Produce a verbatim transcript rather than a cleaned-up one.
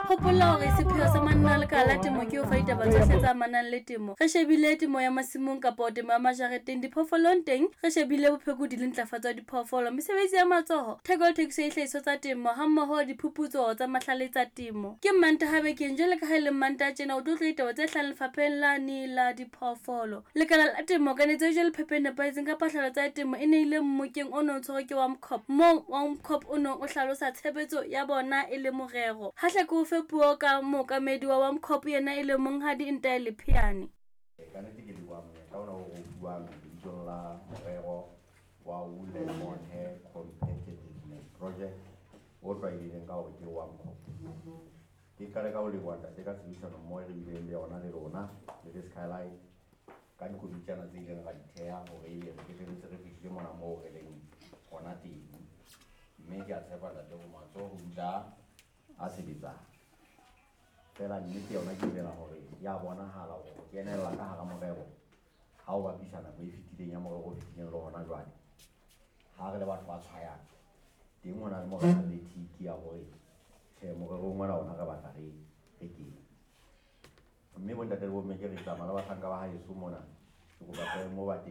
Hopola hore sepheo sa manna a lekala la temo ke ho fa ditaba tsohle tse amanang le temo. Re shebile temo ya masimong kapa temo ya majareteng, diphoofolong teng re shebile bophekodi le ntlafatso ya diphoofolo, mesebetsi ya matsoho, theko le thekiso ya dihlahiswa tsa temo hammoho le diphuputso tsa mahlale tsa temo. Ke Mmantaha bekeng jwale ka ha e le Mmantaha tjena o tlo utlwa ditaba tse hlahang lefapheng lane la diphoofolo. Lekala la temo kanetso e jwale phepo e nepahetseng ka phatlalatswa ya temo e neile mmokeng o neng o tshwerwe ke WAMCOP, moo WAMCOP o neng o hlalosa tshebetso ya bona e le morero. Ha hle ke o fe puo ka mookamedi wa WAMCOP yena e leng Monghadi Ntai Lepheane. Ka nnete ke leboha monyetla ona o re o fuwang lebitsong la morero wa Wool and Mohair Competitiveness Project o tlwaelehileng ka hore ke WAMCOP. Ke qale ka ho leboha ntate ka tshebedisano mmoho e re bileng le yona le lona le le Skylight ka dikomitjana tse ileng ra di theha hore ebe re qetelletse re fihlile mona moo re leng hona teng. Mme ke a tshepa ntate hore matsoho ho dula a sebetsang. Feela nnete yona ke dumela hore ya bonahala hore ho kenella ka hara morero ha o bapisa nako e fetileng ya morero o fetileng le hona jwale. Ha re le batho ba tshwayang teng ho na le moo re nang le tick ya hore tjhe morerong ona ona re batla re re kene. Mme bontate le bomme ke re tsamaya le bahlanka ba haeso mona ke kopa moo ba teng.